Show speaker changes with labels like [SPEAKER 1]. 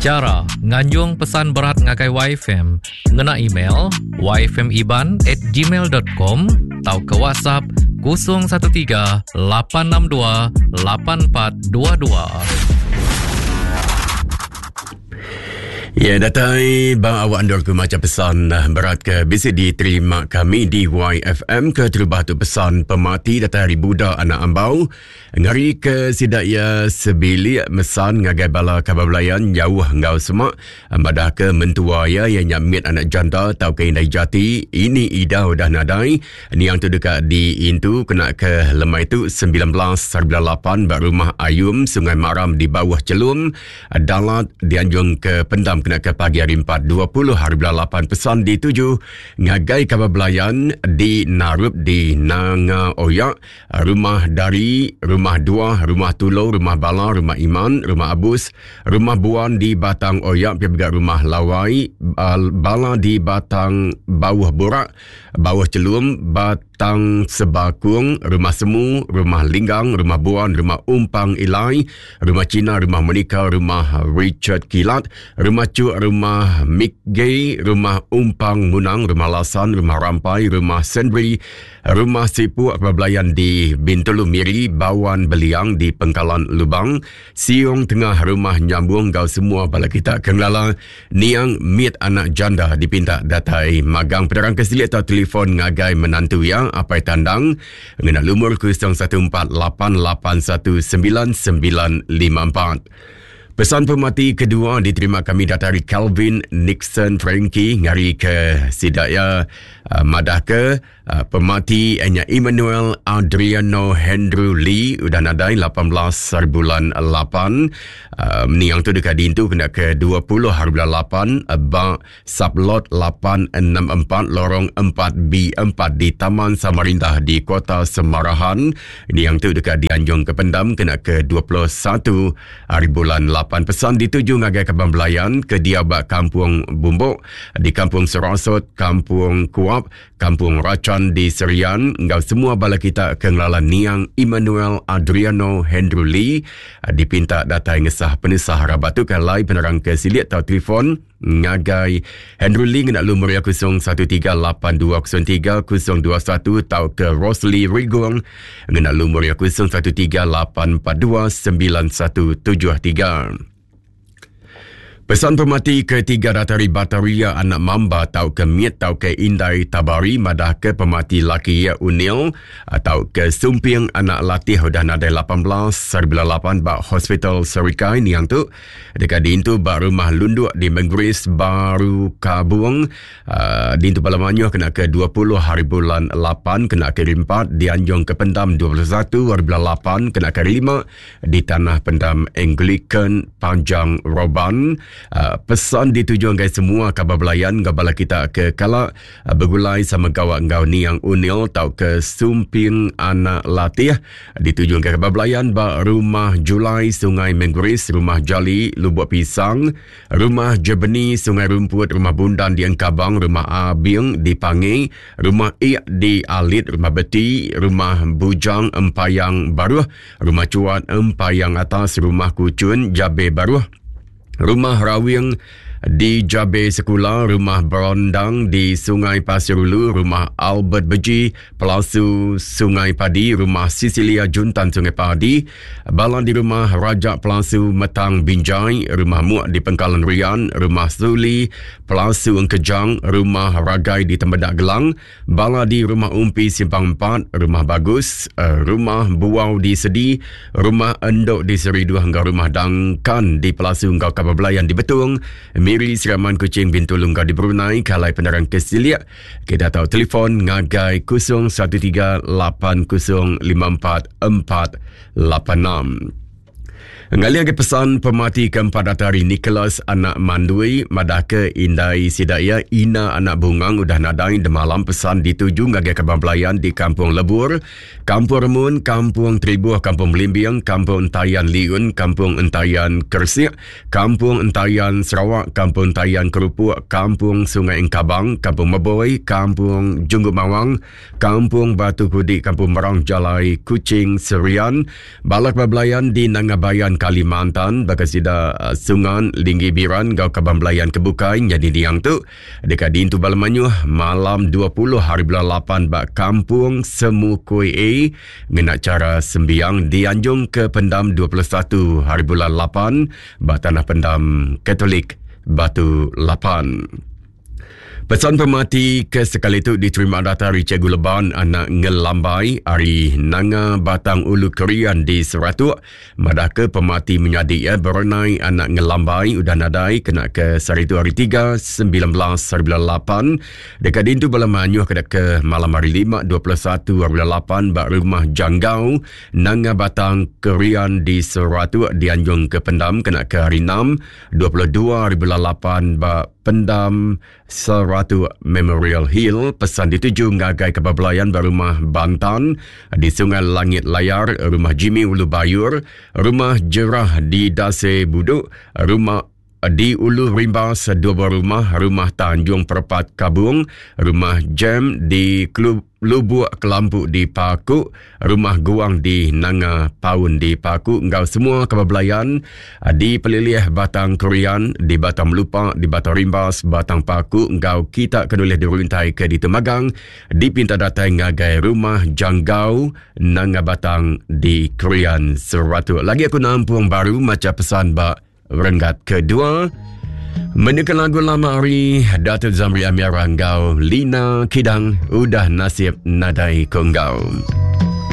[SPEAKER 1] Chara nganjung pesan berat ngagai YFM ngena email yfmiban@gmail.com tauka WhatsApp 013 862 8422.
[SPEAKER 2] Ya, datai ba awak endur ku macha pesan eh, berat ke bisi diterima kami di YFM ke terubah tu pesan pemati datai ari Buda anak Ambau ngari ke sida iya sebilik mesan ngagai bala kaban belayan jauh enggau semak madah ke mentua iya iya nya mit anak janda tauka indai jati ini Ida udah nadai Niang tu deka diintu kena ke lemai tu 19.8 ba rumah Ayum Sungai Maram di Bawah Chelum Dalat dianjung ke pendam kena ke pagi hari 4.20 hari bulan 8 pesan dituju ngagai kaban belayan di Narup di Nanga Oyak, Rumah Dari, Rumah Dua, Rumah Tulo, Rumah Bala, Rumah Iman, Rumah Abus, Rumah Buan di Batang Oyak, pia mega Rumah Lawai, Bala di Batang Bauh Burak, Bauh Chelum, Bat Tang Sebakung, Rumah Semu, Rumah Linggang, Rumah Buan, Rumah Umpang Ilai, Rumah Cina, Rumah Monica, Rumah Richard Kilat, Rumah Cuk, Rumah Mick Gay, Rumah Umpang Munang, Rumah Lasan, Rumah Rampai, Rumah Sendri, Rumah Sipuk Belayan di Bintulu Miri, Bawan Beliang di Pengkalan Lubang, Siong Tengah Rumah Nyambung enggau semua bala kita ke ngelala Niang mit anak janda dipinta datai magang penerang ke silik atau telefon ngagai menantu iya Apai Tandang ngena lumur 0148819954. Pesan pemati kedua diterima kami datai ari Calvin Nixon Frankie ngari ke sida iya madah ke Ah, pemati nya Emmanuel Adriano Hendrew Lee udah nadai 18 hari bulan 8. Uh, meniang tu deka diintu kena ke 20 hari bulan 8 eh, ba sublot 864 lorong 4B4 di Taman Samarinda di Kota Semarahan. Niang tu deka dianjung ke pendam kena ke 21 hari bulan 8. Pesan dituju ngagai kaban belayan ke diau ba Kampung Bumbok di Kampung Serasot, Kampung Kuap, Kampung Rachan di Serian enggau semua bala kita ke ngelala niang Emmanuel Adriano Hendrew Lee dipinta datai ngesah penusah rabat tu ke alai penerang ke silik tau telefon ngagai Hendrew Lee ngena lumur iya 0138203021 tauka Rosli Rigong ngena lumur iya 0138429173. Pesan pemati ketiga datai ari Bataria anak Mamba tauka Mit tauka Indai Tabari madahka pemati laki iya Unil tauka Sumping anak Latih udah nadai 18 hari bulan 8 ba Hospital Serikai niang tu deka diintu ba Rumah Lunduk di Menggeris Baru Kabung Dintu bala mayuh kena ke 20 hari bulan 8 kena ke hari 4 dianjung ke pendam 21 hari bulan 8 kena ke hari 5 di Tanah Pendam Anglican Panjang Roban. Uh, pesan dituju ngagai semua kaban belayan enggau bala kita ke kala uh, begulai sama gawa enggau Niang Unil tauka Sumping Anak Latih dituju ngagai kaban belayan ba Rumah Julai Sungai Mengguris, Rumah Jali Lubuk Pisang, Rumah Jebeni Sungai Rumput, Rumah Bundan di Engkabang, Rumah Abing di Pangi, Rumah Ik di Alit, Rumah Beti, Rumah Bujang Empayang Baruh, Rumah Chuat Empayang Atas, Rumah Kuchun Jabe Baruh, Rumah Rawing di Jabe Sekula, Rumah Berondang di Sungai Pasir Ulu, Rumah Albert Beji, Pelasu Sungai Padi, Rumah Sisilia Juntan Sungai Padi, Bala di Rumah Raja Pelasu Metang Binjai, Rumah Muk di Pengkalan Rian, Rumah Suli, Pelasu Engkejang, Rumah Ragai di Tembedak Gelang, Bala di Rumah Umpi Simpang 4, Rumah Bagus, eh, Rumah Buau di Sedi, Rumah Endok di Seriduh enggau Rumah Dangkan di Pelasu enggau Kaban Belayan di Betong, Miri, Seraman, Kuching, Bintulu enggau di Brunei, Kalai Penerang ke Silik, kita tahu telefon ngagai 013 8054 486. Ngalih agi pesan pemati keempat datai ari Nicholas anak Mandui madahka indai sida iya Ina anak Bungang udah nadai demalam pesan dituju ngagai kaban belayan di Kampung Lebur, Kampung Remun, Kampung Tribuh, Kampung Belimbing, Kampung Entayan Liun, Kampung Entayan Kersik, Kampung Entayan Sarawak, Kampung Entayan Kerupuk, Kampung Sungai Engkabang, Kampung Meboi, Kampung Junggu Mawang, Kampung Batu Kudi, Kampung Merang Jalai, Kuching, Serian, Balak Belayan di Nanga Bayan. belayan Kalimantan baka sida eh, Sungan, Linggi Biran enggau kaban belayan ke bukai nyadi niang tu deka diintu bala mayuh malam 20 hari bulan 8 ba Kampung Semukui A ngena chara sembiang dianjung ke pendam 21 hari bulan 8 ba Tanah Pendam Katolik Batu Lapan. Pesan pemati ke sekali tu diterima datai ari Cikgu Leban anak Ngelambai ari Nanga Batang Ulu Kerian di Seratuk madahka pemati menyadi iya Berenai anak Ngelambai udah nadai kena ke sehari tu hari 3 19 hari bulan 8 deka diintu bala mayuh kena ke malam hari 5 21 hari bulan 8 ba Rumah Janggau Nanga Batang Kerian di Seratuk dianjung ke pendam kena ke hari 6 22 hari bulan 8 ba Pendam Seratuk Memorial Hill pesan dituju ngagai kaban belayan ba Rumah Bantan di Sungai Langit Layar, Rumah Jimmy Ulu Bayur, Rumah Jerah di Dase Buduk, Rumah di Ulu Rimbas dua buah rumah, Rumah Tanjung Perpat Kabung, Rumah Jam di Klub Lubuk Kelampu di Paku, Rumah Guang di Nanga Paun di Paku enggau semua kaban belayan di pelilih Batang Krian, di Batang Melupa, di Batang Rimbas, Batang Paku enggau kita ke nulih diruntai ke ditu magang dipinta datai ngagai Rumah Janggau Nanga Batang di Krian Seratuk. Lagi aku nampung baru macha pesan ba Renggat kedua Menekan lagu lama ari Datuk Zamri Amiara enggau Lina Kidang Udah Nasib Nadai Ko Enggau.